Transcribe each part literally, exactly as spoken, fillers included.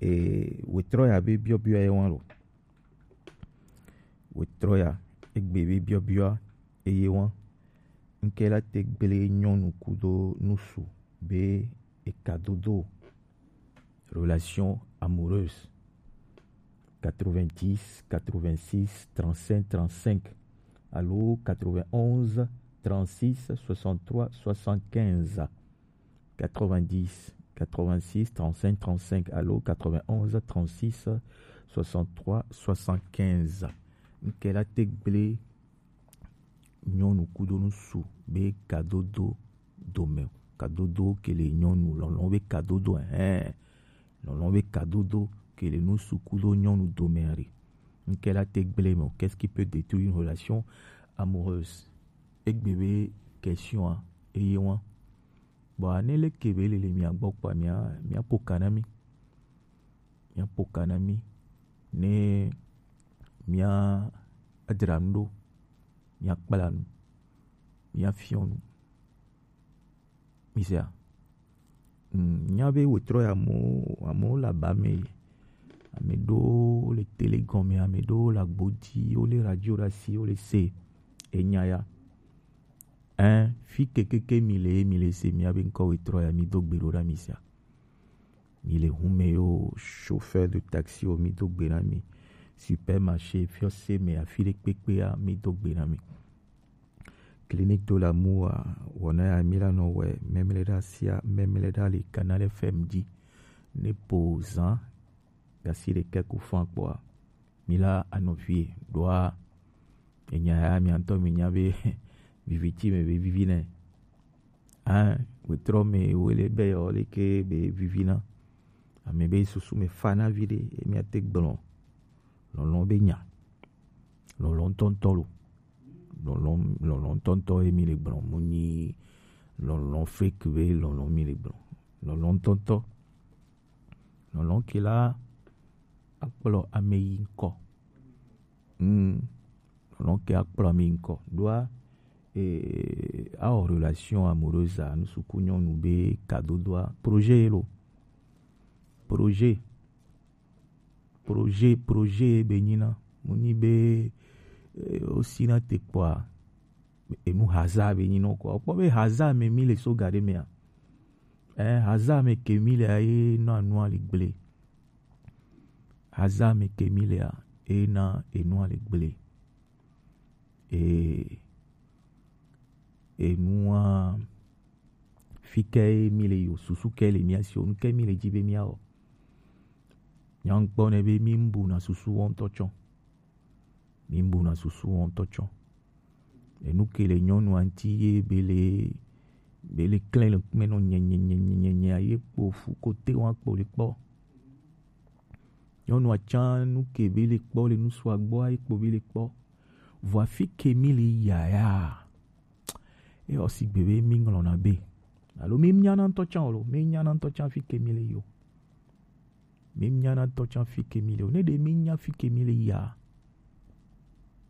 E, wetrɔ ya be biɔbiɔ ye wan lo. Wetrɔ ya, egbe be biɔbiɔ eye wan. Ŋkɛ la te gble nyɔnu kudo nusu be eka dodo. Relation amoureuse. Quatre-vingt-dix, quatre-vingt-six, trente-cinq, trente-cinq. Allô, quatre-vingt-onze, trente-six, soixante-trois, soixante-quinze. Quatre-vingt-dix, quatre-vingt-six, trente-cinq, trente-cinq. Allô, quatre-vingt-onze, trente-six, soixante-trois, soixante-quinze. Ŋkɛ la te gble nyɔnu kudo nusu be kadodo dome. Kadodo ke le nyɔnu lɔlɔn be kadodo, hein. Lɔlɔn be kadodo ke le nusu kudo nyɔnu dome ari. Ŋkɛ la te gble me. Qu'est-ce qui peut détruire une relation amoureuse? Egbe be question a, eye wan. Bon, ane leke be lele mia gbɔ kpa mia, mia po ka na mi. Mia po ka na mi. Ne mia adra nu ɖo, mia kpla nu, mia fiɔ nu. Mi sea? Mm, nya be wetrɔ ya amewo, amewo le aba me. Ame ɖewo le tele gɔme, ame ɖewo le agbo dzi, wo le radio ɖe asi, wo le se enya ya. Hein, fi kekeke mi le, mi le se mia be ŋkɔ wetrɔ ya, mi do gbe ɖo ɖa mi sea. Mi le hume yo, chauffeur de taxi o, mi do gbe na mi. Supermarché, fiɔse me, afi ɖe kpekpe ya, mi do gbe na mi. Clinique de l'amour a, wɔna ya mi la nɔ wɛ, mɛmlɛ ɖa sia, mɛmlɛ ɖa le Canal F M dzi. Ne po zan gasi ɖekɛ ku fan kpɔa, mi la anɔ fie ɖoa. Enya ya mia ŋutɔ mi nya be vivi tsi me be vivi nɛ. Hein, wetrɔ me wele be yɔ leke be vivi na. Ame be susu me fa na vi ɖe, emi ate gblɔ lɔlɔn be nya. Lɔlɔn ŋutɔŋutɔ lo. Lɔlɔn, lɔlɔn ŋutɔŋutɔ ye mi le gblɔ. Mu nyi lɔlɔn fake be lɔlɔn mi le gblɔ. Lɔlɔn ŋutɔŋutɔ. Lɔlɔn ke la akplɔ ame yi ŋkɔ. Hmm. Lɔlɔn ke akplɔ ame yi ŋkɔ. Ɖoa, eh, awɔ relation amoureuse a, nusuku nyɔnu be kadodoa. Projet ye lo. Projet. Projet, projet be nyina. Mu nyi be, eh, o sina te kpɔa, enu hasard be nyina kɔ. Kpɔ be hasard me mi le so ga ɖe mea. Eh, hasard me ke mi le a ye na nua le gble. Hasard me ke mi le a, e na enua le gble. E, enua, fi ke mi le yo, susu ke le mia si o, nu ke mi le dzi be mia wɔ. Nyankpɔ ne be mi bu na susu wɔ ŋutɔ tsɔ. Mi bu na susu wɔ ŋutɔ tsɔ. Enu ke le nyɔnu aŋti ye be le, be le klẽ le kpɛ nɔ nye, nye, nye, nye, nye, nye, ye kpo fu kote wa kpo le kpɔ. Nyɔnu atsa nu ke be le kpɔ le nusu agbɔ ayi kpo be le kpɔ. Vɔ afi ke mi le ya ya. E ɔ sigbe be mi ŋlɔna be. Alo mi nyana ŋutɔ tsã o lo, mi nyana ŋutɔ tsã fi ke mi le yo. Mi nyana ŋutɔ tsã fi ke mi le o. Ne ɖe mi nya fi ke mi le ya.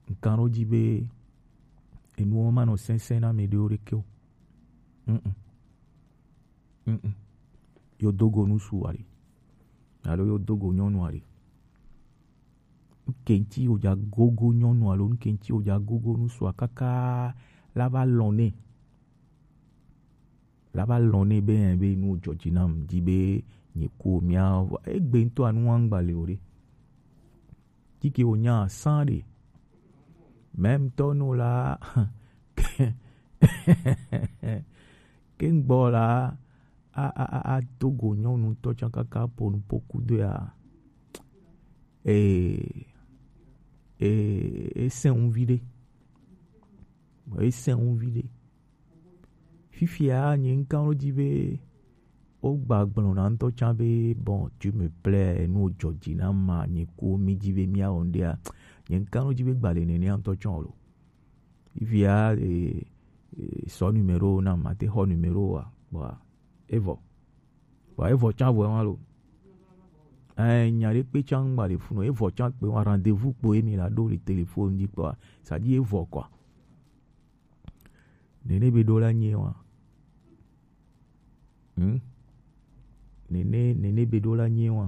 Ŋkan ɖo dzi be enuwo ma nɔ sɛnsɛn na mi ɖewo ɖeke o. Mm-mm. Mm-mm. Yo dogo nusu aɖe. Alo yo dogo nyɔnu aɖe. Ŋke ŋti wo dza gogo nyɔnu alo ŋke ŋti wo dza gogo nusua kaka la va lɔn nɛ. La va lɔn nɛ be, be nu jɔ dzi nam, di be nye ko mia, egbe ŋutɔ anu wa ŋgba le o ɖe. Tike wo nya san ɖe. Même tɔ nu la, ke ŋgbɔ la, a, a, a, a do go nyɔnu tɔ tsã kaka po nu po kudo ya. Ee, ee, e sɛn ŋu vi ɖe. Bon, e sɛn ŋu vi ɖe. Fifia nye ŋkan ɖo dzi be wo gba gblɔ na ŋutɔ tsã be, bon, tu me plais, enu jɔ dzi na ma, nye ko mi dzi be mia wɔ ŋɖea, nye ŋkan ɖo dzi be gba le nenea ŋutɔ tsã o lo. Fifia, e, e, sɔ numéro na ma te xɔ numéro wa, kpɔa, evɔ. Kpɔa, evɔ tsã vɔ wa lo. Ɛ, nya ɖe kpe tsã ŋgba le funu, evɔ tsã kpe wa rendez-vous kpo emi la ɖo le téléphone dzi kpɔa, ça dit evɔ quoi. Nene be ɖo la nye wa. Hmm? Nene, nene be ɖo la nye wa.